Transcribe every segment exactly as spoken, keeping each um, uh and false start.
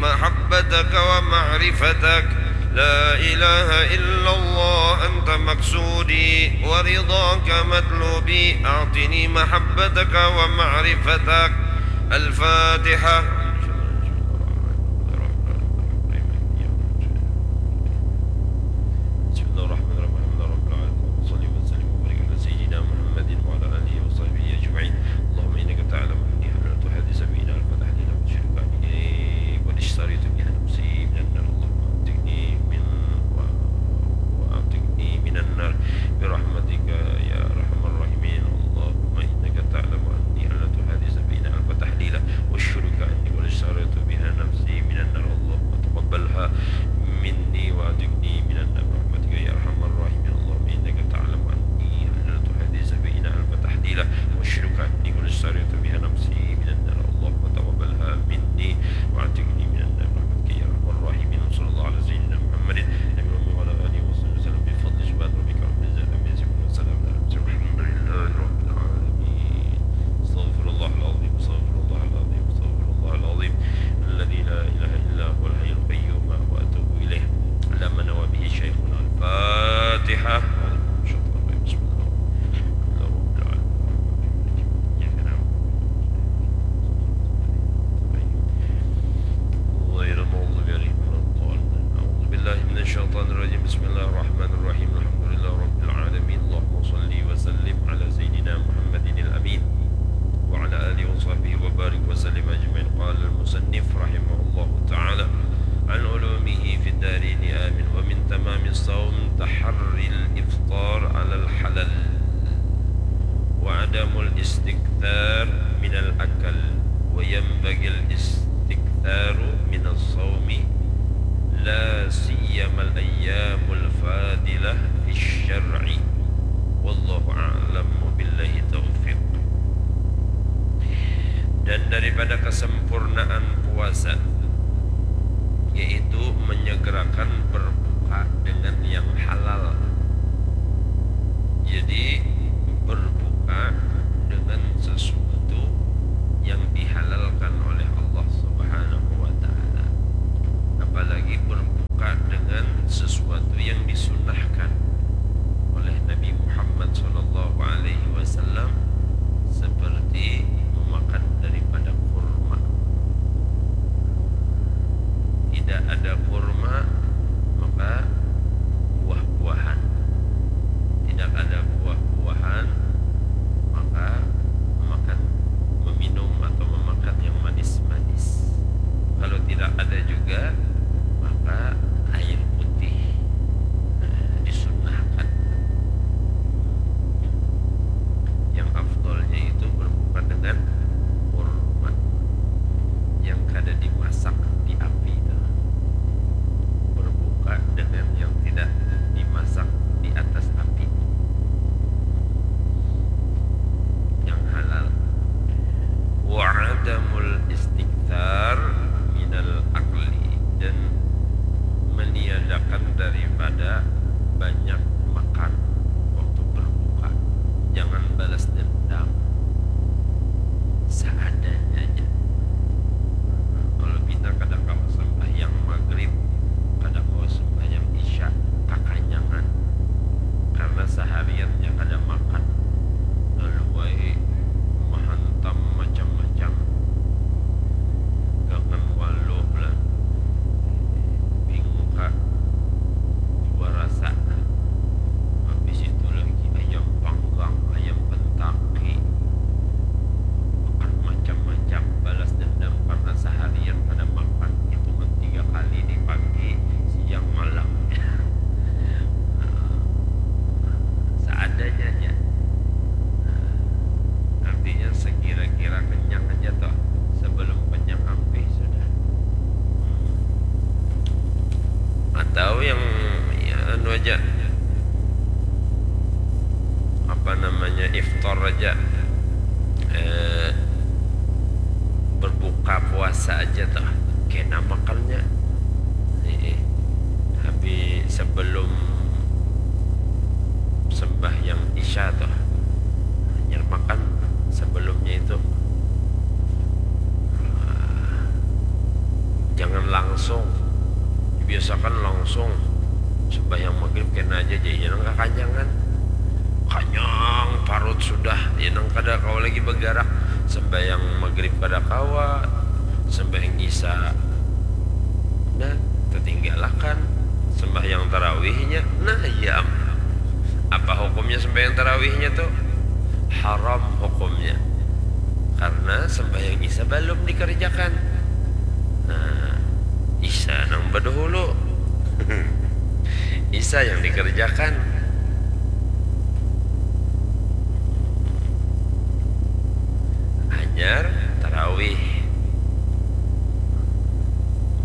محبتك ومعرفتك. لا إله إلا الله أنت مقصودي ورضاك مطلوبي. أعطني محبتك ومعرفتك. الفاتحة. بسم الله الرحمن الرحيم. الحمد لله رب العالمين. وصلي وسلم وبارك على سيدنا محمد وعلى آله وصحبه أجمعين. اللهم إنك تعلم أني حللت هذه سبيل ألف تحليل وأشهدك أني قد اشتريت بها نفسي من النار. اللهم أعتقني من و-، وأعتقني من النار برحمتك يا أرحم الراحمين. اللهم إنك تعلم أني حللت هذه سبيل ألف تحليل وأشهدك أني قد اشتريت بها نفسي من النار. اللهم تقبلها مني وأعتقني من النار برحمتك يا أرحم الراحمين. اللهم إنك تعلم أني حللت هذه سبيل ألف تحليل وأشهدك أني قد اشتريت بها نفسي من النار. اللهم تقبلها مني وأعتقني من النار برحمتك يا أرحم الراحمين. وصلى الله على سيدنا محمد النبي الأمي وعلى آله وصحبه وسلم بفضل سبحان ربك رب العزة عما يصفون وسلام على المرسلين والحمد لله رب العالمين. أستغفر الله العظيم، أستغفر الله العظيم، أستغفر الله العظيم الذي لا إله إلا هو الحي القيوم وأتوب إليه. علمنا وبه شيخنا. الفاتحة. بسم الله الرحمن الرحيم. الحمد لله رب العالمين. إياك نعبد وإياك نستعين. غير المغضوب عليهم ولا الضالين. أعوذ بالله من الشيطان الرجيم. بسم الله الرحمن الرحيم. الحمد لله رب العالمين. اللهم صل وسلم على سيدنا محمد الأمين وعلى آله وصحبه وبارك وسلم أجمعين. قال المصنف رحمه الله تعالى: عن علومه في الدارين آمين. ومن تمام الصوم تحري الإفطار على الحلال وعدم الاستكثار من الأكل، وينبغي الاستكثار من الصوم، لا سيما الأيام الفاضلة في الشرع. والله أعلم، وبالله التوفيق. Dan daripada kesempurnaan puasa, yaitu menyegerakan berbuka dengan yang halal. Jadi, berbuka dengan sesuatu yang dihalalkan oleh Allah Subhanahu wa Ta'ala. Apalagi berbuka dengan sesuatu yang disunnahkan oleh Nabi Muhammad sallallahu alaihi wasallam, seperti memakan daripada kurma. Tidak ada kurma, maka buah-buahan. Tidak ada buah-buahan, maka makan, meminum atau memakan yang manis-manis. Kalau tidak ada juga, maka air putih, eh, disunnahkan. Yang afdolnya itu berbuka dengan kurma yang kada dimasak di api itu. Berbuka dengan yang tidak dimasak di atas api. Yang halal. Wa adamul istikthar minal akli, dan meniadakan daripada banyak makan waktu berbuka. Jangan balas dendam. Seadanya aja. Kalau pina kada kawa sembahyang maghrib, kada kawa sembahyang isya, kakanyangan. Karena sehariannya kada makan. Lalu ai mahantam macam-macam. Gangan walu lah. Bingka jua rasa. Habis itu lagi ayam panggang, ayam kentaki. Makan macam-macam, balas dendam karena seharian kada makan. Hitungan tiga kali di pagi, siang, malam. Seadanya aja. Artinya sekira-kira kenyang aja toh. Sebelum kenyang ampih sudah. Atau yang, ya, anu aja, apa namanya, iftar aja, eh, berbuka puasa aja tuh, kena makannya. Nih, habis sebelum sembahyang isya tuh, hanyar makan sebelumnya itu. Ah, jangan langsung, dibiasakan langsung sembahyang maghrib kena aja, jadi nang kakanyangan, kanyang parut sudah, ya nang kada kawa lagi bergerak, sembahyang maghrib kada kawa, sembahyang isya nah tertinggalakan, sembahyang tarawihnya nah iya am. Apa hukumnya sembahyang tarawihnya tuh? Haram hukumnya. Karena sembahyang isya belum dikerjakan. Nah, isya nang badahulu. Isya yang dikerjakan. Hanyar tarawih.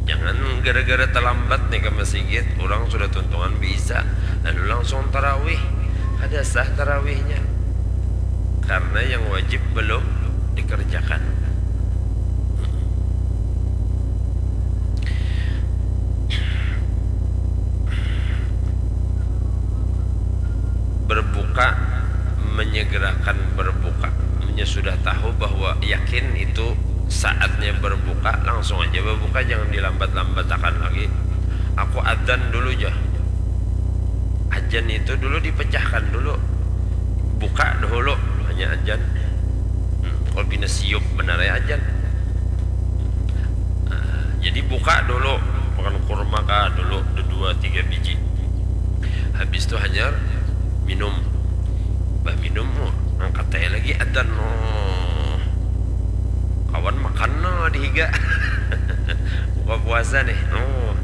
Jangan gara-gara terlambat nih ke masjid, orang sudah tuntungan bisa, lalu langsung tarawih. Kada sah tarawihnya. Karena yang wajib belum dikerjakan. Berbuka, menyegerakan berbuka. Nya sudah tahu bahwa yakin itu saatnya berbuka, langsung aja berbuka, jangan dilambat-lambatakan lagi. Aku adzan dulu ja. Adzan itu dulu dipecahkan dulu. Buka dahulu, hanya adzan. Hmm, kalau pina siup benar ya adzan. Nah, jadi buka dulu, makan kurma kah dulu, dua tiga biji. Habis tu hanyar minum. Bah minum, oh, angkat aja lagi adzan. Oh. Kawan makan no di higa. Buka puasa nih. Oh.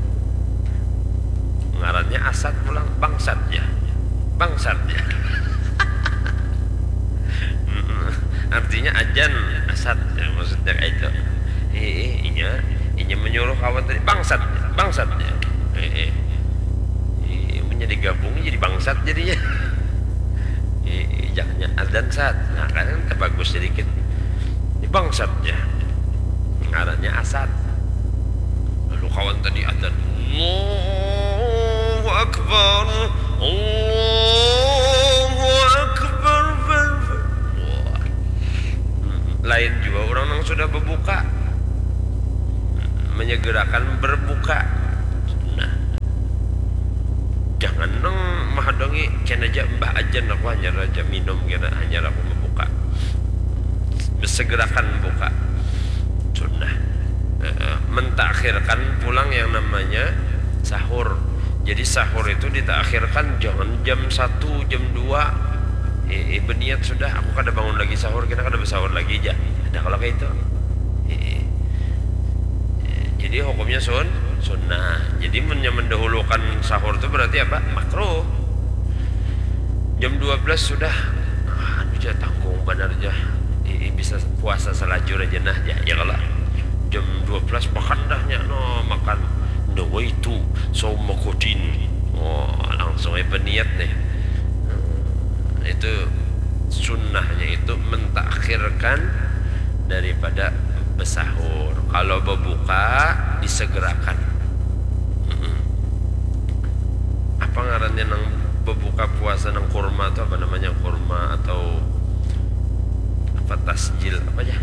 Ngarannya asat pulang, bangsat ya. Bangsat ya. Mm-mm. Artinya ajan asat ya, maksudnya kayak itu. Eh, eh, inya, inya menyuruh kawan tadi bangsat, bangsat ya. Eh, eh. Eh, menjadi gabung jadi bangsat jadinya. Eh, eh, jangannya adan sat. Nah, kan terbagus sedikit. Ini bangsat ya. Ngarannya asat. Lalu kawan tadi adan. Allahu Akbar. Allahu Akbar. Wah. Hmm, lain juga orang yang sudah berbuka. Menyegerakan berbuka. Nah. Jangan nang mahadongi, kena aja mbah ajan aku hanyar aja minum kena, hanyar aku membuka. Bersegerakan buka. Sunnah. Eh, mentakhirkan pulang yang namanya sahur. Jadi sahur itu ditakhirkan, jangan jam satu, jam dua. Eh, eh, berniat sudah, aku kada bangun lagi sahur, kita kada bersahur lagi aja. Ada kalau kayak itu. Eh, eh. Eh, jadi hukumnya sun, sunnah. Jadi men-, mendahulukan sahur itu berarti apa? Makruh. Jam dua belas sudah. Ah, anu ja, tanggung banar ja. I, i, bisa puasa salajur aja nah ja, ya kalo. Jam dua belas makan dah nya, no, makan. Nawaitu sauma ghadin. Oh, langsung ai baniat nih. Hmm, itu sunnahnya itu mentakhirkan daripada besahur. Kalau bebuka, disegerakan. Mm-mm. Apa ngarannya nang bebuka puasa nang kurma tu, apa namanya, kurma atau apa, tasjil, apa ya?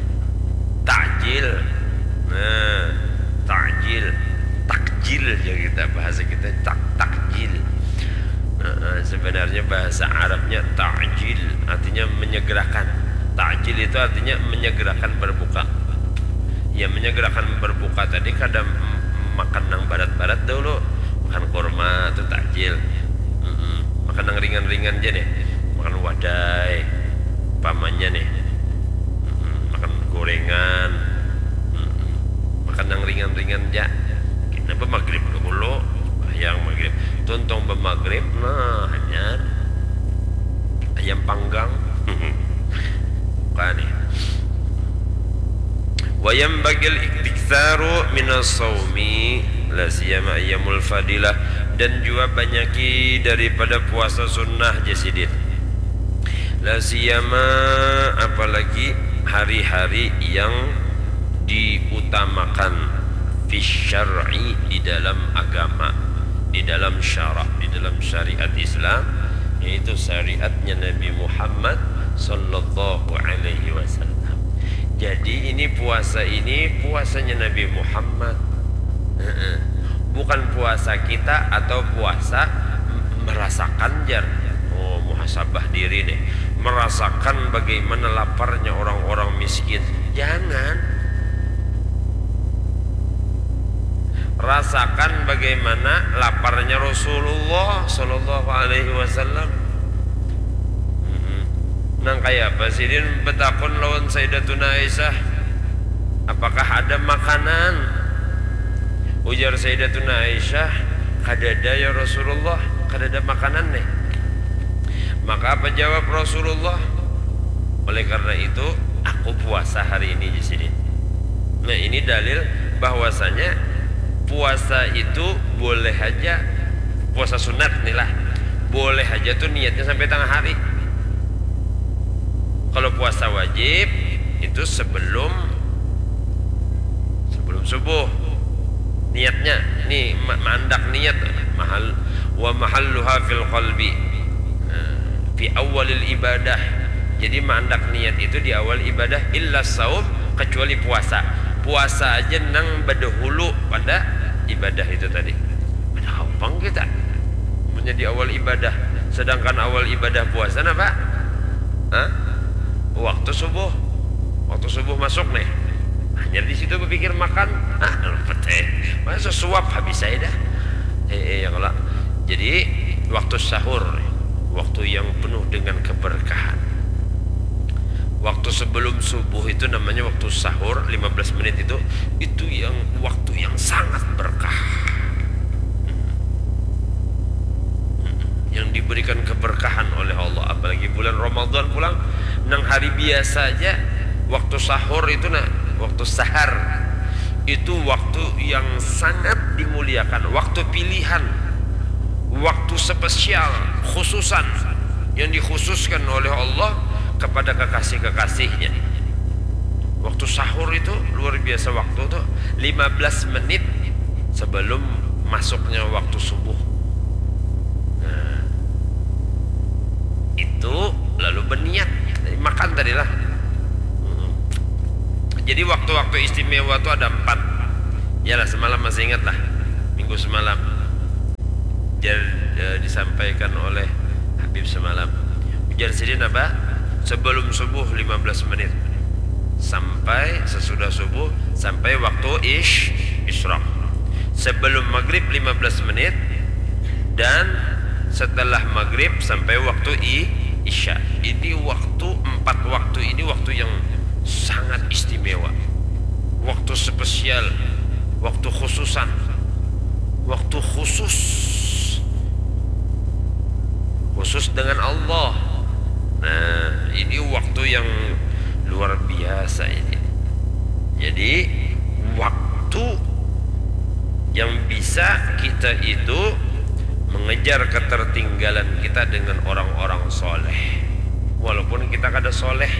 Takjil. Nah, takjil. Takjil ya kita, bahasa kita tak-, takjil. Heeh, sebenarnya bahasa Arabnya ta'jil, artinya menyegerakan. Ta'jil itu artinya menyegerakan berbuka. Ya, menyegerakan berbuka tadi kada m-, makan nang barat-barat dahulu. Makan kurma tu ta'jil. Mm-mm. Makan nang ringan-ringan ja nih. Makan wadai, umpamanya nih. Mm-mm. Makan gorengan. Mm-mm. Makan nang ringan-ringan ja. Kita bamagrib dahulu, sembahyang magrib. Tuntung bamagrib, nah, hanyar ayam panggang. Buka nih. Wa yanbaghil iktsaru minas shaumi, la siyama ayyamul fadilah, dan jua banyaki daripada puasa sunnah, jar sidin. La siyama, apalagi hari-hari yang diutamakan, fis syar'i, di dalam agama, di dalam syarak, di dalam syariat Islam, yaitu syariatnya Nabi Muhammad sallallahu alaihi wasallam. Jadi ini puasa ini puasanya Nabi Muhammad. Bukan puasa kita atau puasa merasakan jar. Oh, muhasabah diri nih. Merasakan bagaimana laparnya orang-orang miskin. Jangan. Rasakan bagaimana laparnya Rasulullah sallallahu alaihi wasallam. Nang kaya apa sidin betakun lawan Sayyidatuna Aisyah, apakah ada makanan? Ujar Sayyidatuna Aisyah, kadada ya Rasulullah, kadada makanan nih. Maka apa jawab Rasulullah? Oleh karena itu, aku puasa hari ini di sini. Nah, ini dalil bahwasanya puasa itu boleh aja, puasa sunat nih lah, boleh aja tuh niatnya sampai tengah hari. Kalau puasa wajib itu sebelum sebelum subuh niatnya, nih ma- mandak niat mahal wa mahalluha fil qalbi. Nah, fi awalil ibadah. Jadi mandak niat itu di awal ibadah illa saum, kecuali puasa. Puasa aja nang berdahulu pada ibadah itu tadi. Ada gampang kita menjadi awal ibadah. Sedangkan awal ibadah puasa apa? Hah? Waktu subuh. Waktu subuh masuk nih. Hanya di situ berpikir makan. Ah, luput eh. Masa suap habis saya dah. Eh, eh ya kalau. Jadi waktu sahur, waktu yang penuh dengan keberkahan. Waktu sebelum subuh itu namanya waktu sahur, lima belas menit itu, itu yang waktu yang sangat berkah. Yang diberikan keberkahan oleh Allah, apalagi bulan Ramadan pulang, nang hari biasa aja waktu sahur itu nah, waktu sahar itu waktu yang sangat dimuliakan, waktu pilihan, waktu spesial, khususan yang dikhususkan oleh Allah kepada kekasih-kekasihnya. Waktu sahur itu luar biasa waktu tuh, lima belas menit sebelum masuknya waktu subuh. Nah, itu lalu berniat makan tadi lah. Hmm. Jadi waktu-waktu istimewa tuh ada empat. Yalah, semalam masih ingat lah, minggu semalam. Jar, eh, disampaikan oleh Habib semalam. Ujar sidin apa? Sebelum subuh lima belas menit sampai sesudah subuh sampai waktu ish isyraq. Sebelum maghrib lima belas menit dan setelah maghrib sampai waktu i isya. Ini waktu, empat waktu ini waktu yang sangat istimewa. Waktu spesial, waktu khususan, waktu khusus. Khusus dengan Allah. Nah, ini waktu yang luar biasa ini. Jadi, waktu yang bisa kita itu mengejar ketertinggalan kita dengan orang-orang soleh. Walaupun kita kada soleh,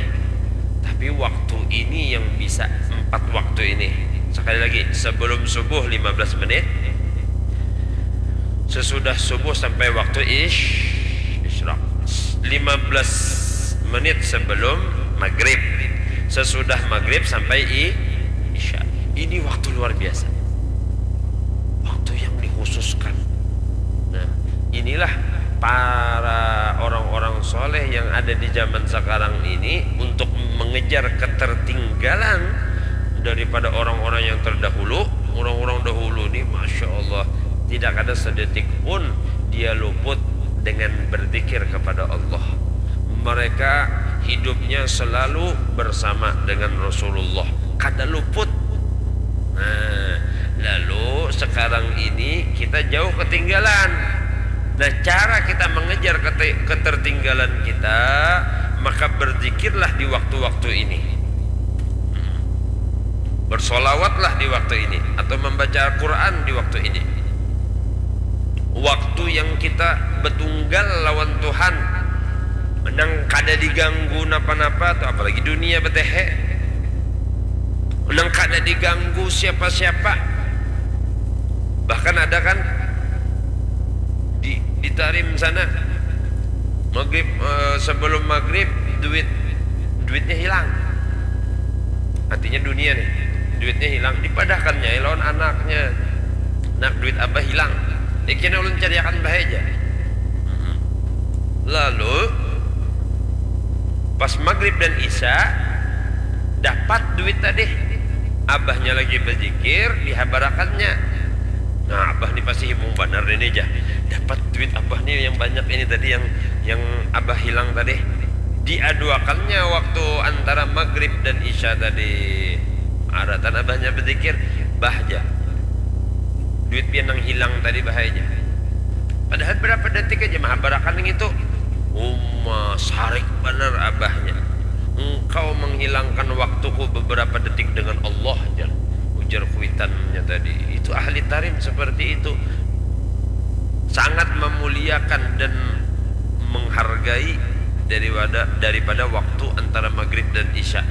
tapi waktu ini yang bisa, empat waktu ini. Sekali lagi, sebelum subuh lima belas menit, sesudah subuh sampai waktu ish, isyraq. Lima belas menit sebelum maghrib. Sesudah maghrib sampai i isya. Ini waktu luar biasa. Waktu yang dikhususkan. Nah, inilah para orang-orang soleh yang ada di zaman sekarang ini untuk mengejar ketertinggalan daripada orang-orang yang terdahulu. Orang-orang dahulu ni, masya Allah, tidak ada sedetik pun dia luput dengan berzikir kepada Allah. Mereka hidupnya selalu bersama dengan Rasulullah, kada luput. Nah, lalu sekarang ini kita jauh ketinggalan. Nah, cara kita mengejar kete- ketertinggalan kita, maka berzikirlah di waktu-waktu ini. Bersolawatlah di waktu ini atau membaca Al-Quran di waktu ini. Waktu yang kita betunggal lawan Tuhan, nang kada diganggu napa-napa tu, apalagi dunia betehe, nang kada diganggu siapa-siapa. Bahkan ada kan di, di Tarim sana, maghrib, eh, sebelum maghrib duit duitnya hilang. Artinya dunia nih, duitnya hilang, dipadahkannya lawan anaknya. Duit abah hilang. Ikina ulun cariakan bahaya aja. Lalu pas maghrib dan isya dapat duit tadi. Abahnya lagi berzikir, dihabarakannya. Nah, abah nih pasti himung banar ini aja. Dapat duit abah nih yang banyak ini tadi, yang yang abah hilang tadi. Diaduakannya waktu antara maghrib dan isya tadi. Aratan abahnya berzikir, bah aja. Duit pian nang hilang tadi bahaya aja. Padahal berapa detik aja mahabarakan yang itu. Uma, sarik banar abahnya. Engkau menghilangkan waktuku beberapa detik dengan Allah, jar. Ujar kuitannya tadi. Itu ahli tarim seperti itu. Sangat memuliakan dan menghargai daripada daripada waktu antara maghrib dan isya.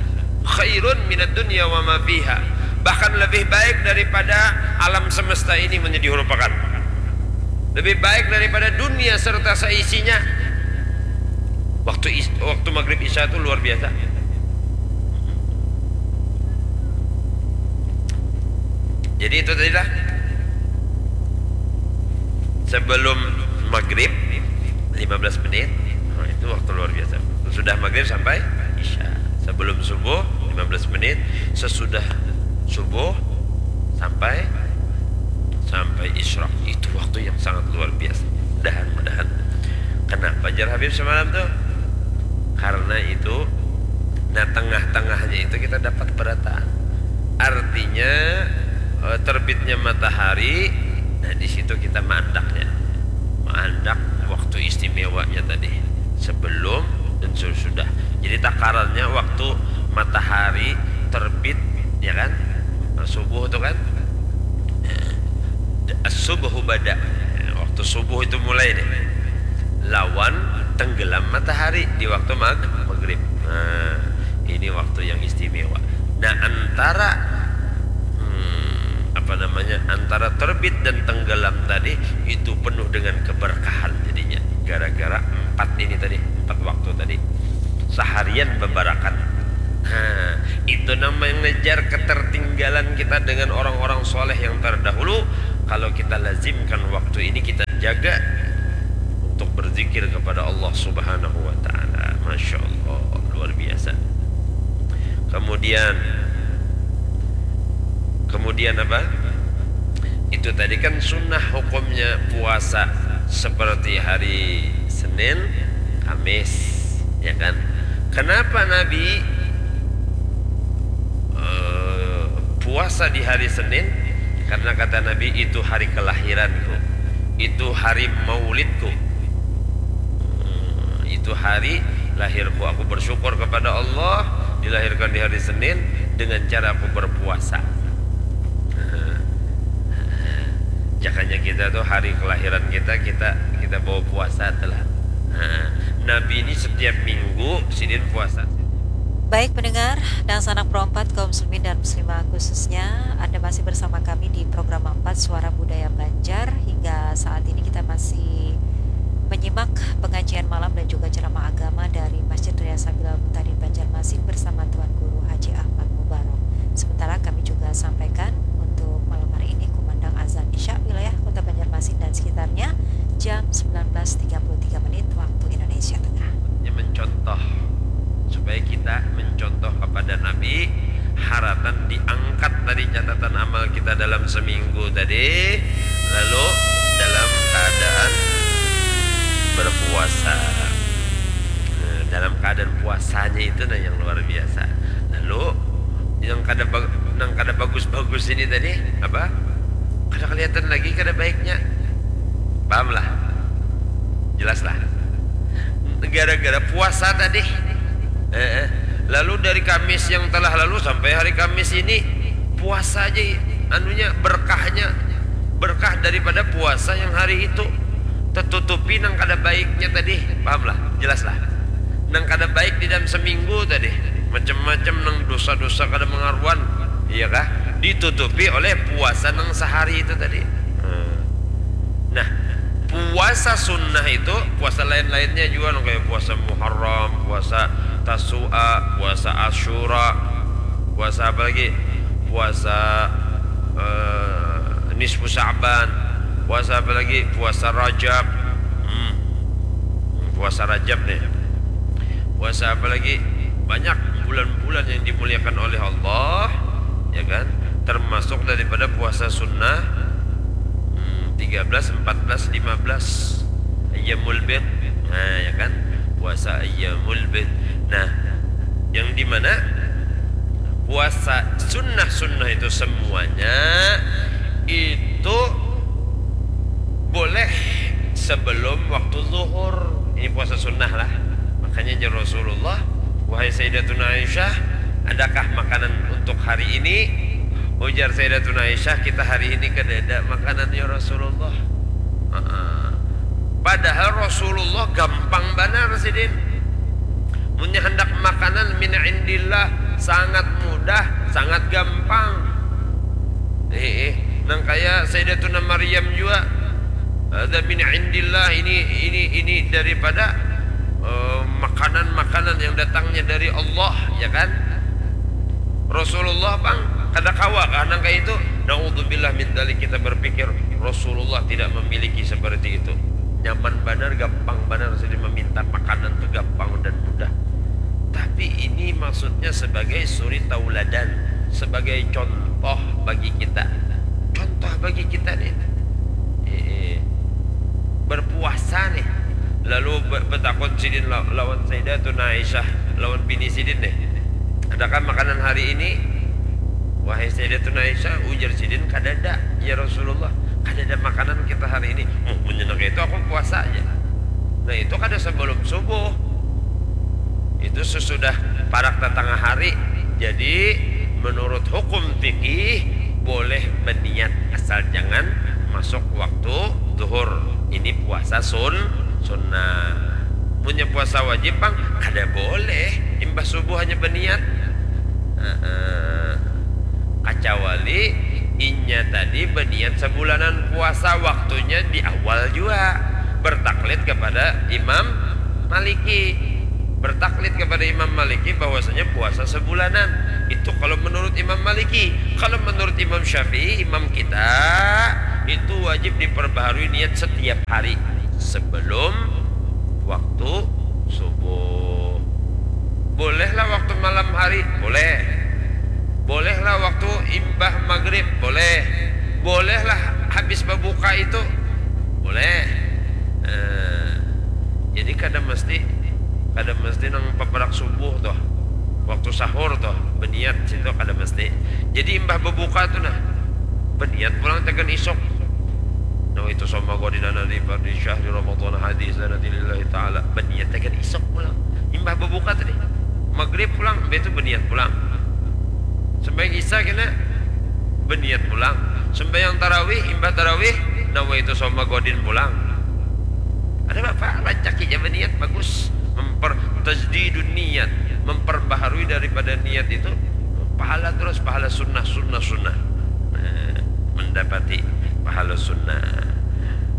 Khairun minad dunya wa ma fiha. Bahkan lebih baik daripada alam semesta ini menjadi dirupakan. Lebih baik daripada dunia serta seisinya. Waktu is, waktu maghrib isya itu luar biasa. Jadi itu tadi lah. Sebelum maghrib lima belas menit, nah, itu waktu luar biasa. Sudah maghrib sampai isya. Sebelum subuh lima belas menit, sesudah subuh sampai sampai isyraq. Itu waktu yang sangat luar biasa. Mudahan, mudahan. Kenapa jar Habib semalam tuh? Karena itu, nah, tengah-tengahnya itu kita dapat berataan. Artinya, eh, terbitnya matahari, nah, di situ kita mandaknya. Mandak waktu istimewanya tadi. Sebelum dan sesudah. Jadi takarannya waktu matahari terbit, ya kan? Nah, subuh tuh kan? As-subhu bada. Waktu subuh itu mulai nih. Lawan tenggelam matahari di waktu mag maghrib. Nah, ini waktu yang istimewa. Nah, antara, hmm, apa namanya, antara terbit dan tenggelam tadi itu penuh dengan keberkahan jadinya. Gara-gara empat ini tadi, empat waktu tadi. Seharian bebarakat. Nah, itu namanya mengejar ketertinggalan kita dengan orang-orang soleh yang terdahulu. Kalau kita lazimkan waktu ini, kita jaga untuk berzikir kepada Allah Subhanahu wa Ta'ala. Masya Allah, luar biasa. Kemudian, kemudian apa? Itu tadi kan sunnah hukumnya puasa seperti hari Senin, Kamis, ya kan? Kenapa Nabi eh, puasa di hari Senin? Karena kata Nabi, "Itu hari kelahiranku, itu hari maulidku, eh, itu hari lahirku. Aku bersyukur kepada Allah dilahirkan di hari Senin dengan cara aku berpuasa." Nah, jakanya kita tuh hari kelahiran kita, kita kita bawa puasa telah. Nah, Nabi ini setiap minggu sidin puasa. Baik pendengar, dangsanak Pro empat, kaum muslimin dan muslimah khususnya, Anda masih bersama kami di Program empat Suara Budaya Banjar. Hingga saat ini kita masih menyimak pengajian malam dan juga ceramah agama dari Masjid Raya Sabilal Mutadin Banjarmasin bersama Tuan Guru Haji Ahmad Mubarok. Sementara kami juga sampaikan untuk malam hari ini kumandang azan Isya wilayah Kota Banjarmasin dan sekitarnya jam sembilan belas tiga puluh tiga menit waktu Indonesia Tengah. Mencontoh, supaya kita mencontoh kepada Nabi, haratan diangkat tadi catatan amal kita dalam seminggu tadi, lalu dalam keadaan berpuasa. Nah, dalam keadaan puasanya itu nah yang luar biasa. Lalu yang kada bag- nang kada bagus-bagus ini tadi apa? Kada kelihatan lagi kada baiknya. Paham lah? Jelas lah. Gara-gara puasa tadi. Eh, eh. Lalu dari Kamis yang telah lalu sampai hari Kamis ini puasa aja, anunya, berkahnya, berkah daripada puasa yang hari itu tertutupi nang kada baiknya tadi. Paham lah? Jelas lah. Nang kada baik di dalam seminggu tadi, macam-macam nang dosa-dosa kada mengaruan, iya kah? Ditutupi oleh puasa nang sehari itu tadi. Hmm. Nah, puasa sunnah itu, puasa lain-lainnya juga, nang kayak puasa Muharram, puasa Tasu'a, puasa Asyura, puasa apa lagi? Puasa, eh, Nisfu Sa'ban. Puasa apa lagi? Puasa Rajab. Hmm. Puasa Rajab nih. Puasa apa lagi? Banyak bulan-bulan yang dimuliakan oleh Allah, ya kan? Termasuk daripada puasa sunnah, hmm, tiga belas, empat belas, lima belas. Ayyamul Bid. Nah, ya kan? Puasa Ayyamul Bid. Nah, yang dimana puasa sunnah-sunnah itu semuanya itu boleh sebelum waktu zuhur. Ini puasa sunnah lah. Makanya jar Rasulullah, "Wahai Sayyidatuna Aisyah, adakah makanan untuk hari ini?" Ujar Sayyidatuna Aisyah, "Kita hari ini kadada makanan, ya Rasulullah." Heeh. Padahal Rasulullah gampang banar sidin. Munnya handak makanan min indillah, sangat mudah, sangat gampang. Eh, eh. Nang kaya Sayyidatuna Maryam jua. Ada min indillah, ini ini ini daripada eh, makanan-makanan yang datangnya dari Allah, ya kan? Rasulullah pang kada kawa kah nang kaya itu? Naudzubillah min dzalik, kita berpikir Rasulullah tidak memiliki seperti itu. Nyaman banar, gampang banar, jadi meminta makanan tu gampang dan mudah. Tapi ini maksudnya sebagai suri tauladan, sebagai contoh bagi kita. Contoh bagi kita nih. Eh, eh. Berpuasa nih. Lalu be- betakun sidin la- lawan Sayyidatuna Aisyah, lawan bini sidin nih. "Adakah makanan hari ini?" "Wahai Sayyidatuna Aisyah," ujar sidin, "kadada, ya Rasulullah. Kadada makanan kita hari ini." "Muh, munnya nang kaya itu aku puasa aja." Nah, itu kada sebelum subuh. Itu sesudah parak tatangah hari. Jadi, menurut hukum fikih, boleh beniat asal jangan masuk waktu zuhur. Ini puasa sun sunnah. Munnya puasa wajib pang, kada boleh imbah subuh hanya beniat. Heeh. Kacawali inya tadi beniat sabulanan puasa, waktunya di awal jua bertaklid kepada Imam Maliki. Bertaklid kepada Imam Maliki bahwasanya puasa sebulanan. Itu kalau menurut Imam Maliki. Kalau menurut Imam Syafi'i, imam kita, itu wajib diperbaharui niat setiap hari sebelum waktu subuh. Bolehlah waktu malam hari, boleh. Bolehlah waktu imbah maghrib, boleh. Bolehlah habis berbuka itu, boleh. Eh, jadi kada mesti, kada mesti nang paparak subuh tuh, waktu sahur tuh, beniat situ kada mesti. Jadi imbah berbuka tuh nah, beniat pulang tekan isuk. Nawaitu shauma ghadin ana li fardhi syahri Ramadan hadi sanati lillahi ta'ala. Beniat tekan isuk pulang. Imbah berbuka tadi. Maghrib pulang, imbah itu beniat pulang. Sembahyang Isya kena beniat pulang. Sembahyang tarawih, imbah tarawih, nawaitu shauma ghadin pulang. Ada apa? Rancak aja beniat, bagus. Memper tajdidun niat, memperbaharui daripada niat itu pahala terus, pahala sunnah, sunnah, sunnah. Nah, mendapati pahala sunnah.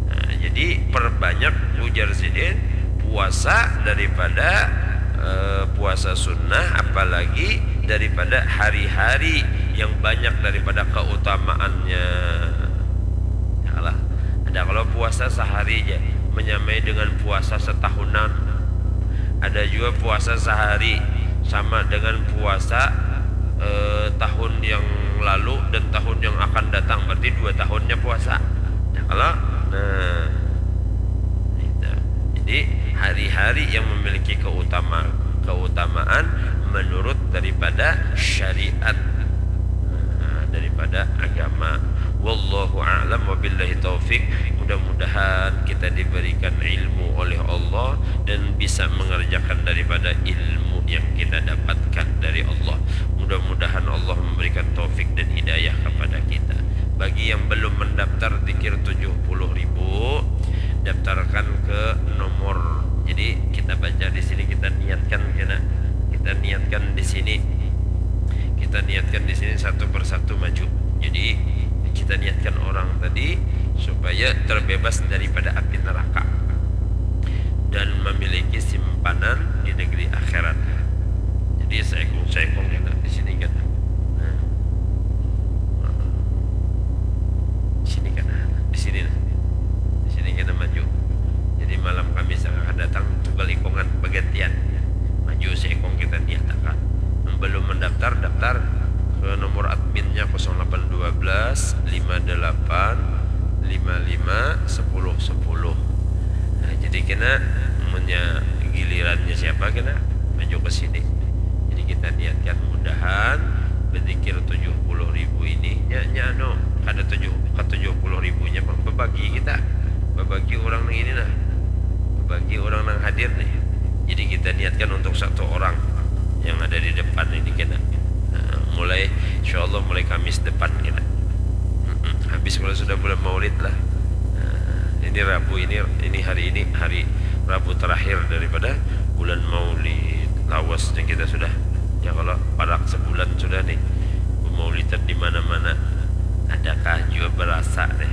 Nah, jadi perbanyak ujar sidin puasa daripada eh, puasa sunnah, apalagi daripada hari-hari yang banyak daripada keutamaannya. Alah, ada kalau puasa sehari aja menyamai dengan puasa setahunan. Ada juga puasa sehari sama dengan puasa eh, tahun yang lalu dan tahun yang akan datang, berarti dua tahunnya puasa. Nah, kalau nah itu. Jadi hari-hari yang memiliki keutama keutamaan menurut daripada syariat, nah, daripada agama. Wallahu a'lam wabillahi taufik. Mudah-mudahan kita diberikan ilmu oleh Allah dan bisa mengerjakan daripada ilmu yang kita dapatkan dari Allah. Mudah-mudahan Allah memberikan taufik dan hidayah kepada kita. Bagi yang belum mendaftar zikir tujuh puluh ribu, daftarkan ke nomor. Jadi kita baca di sini, kita niatkan kena. Kita niatkan di sini. Kita niatkan di sini satu persatu maju. Jadi kita niatkan orang tadi supaya terbebas daripada api neraka dan memiliki simpanan di negeri akhirat. Jadi seekong-seekong kena di sini kan. Nah. lima lima, sepuluh sepuluh. Nah, jadi kena, munnya gilirannya siapa kena maju ke sini. Jadi kita niatkan mudahan berzikir tujuh puluh ribu ini, nya, nya anu, kada tujuh, ke tujuh puluh ribunya, bang, bebagi kita, bebagi orang nang ini nah, bebagi orang nang hadir nih. Jadi kita niatkan untuk satu orang yang ada di depan ini kena. Nah, mulai, insya Allah mulai Kamis depan kena. Mm-mm. Habis kalau sudah bulan Maulid lah. Nah, ini Rabu ini, ini hari ini hari Rabu terakhir daripada bulan Maulid. Lawas nih kita sudah. Ya, kalau parak sebulan sudah nih. Maulidan di mana-mana. Adakah jua berasa nih?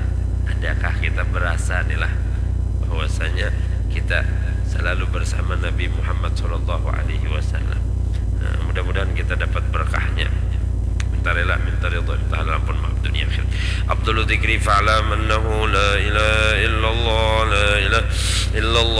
Adakah kita berasa nih lah bahwasanya kita selalu bersama Nabi Muhammad sallallahu alaihi wasallam? Nah, mudah-mudahan kita dapat berkahnya. Minta rela, minta ridho, minta halal ampun, maaf dunia akhirat. Afdalu dzikri fa'lam annahu la ilaha illallah, la ilaha illallah.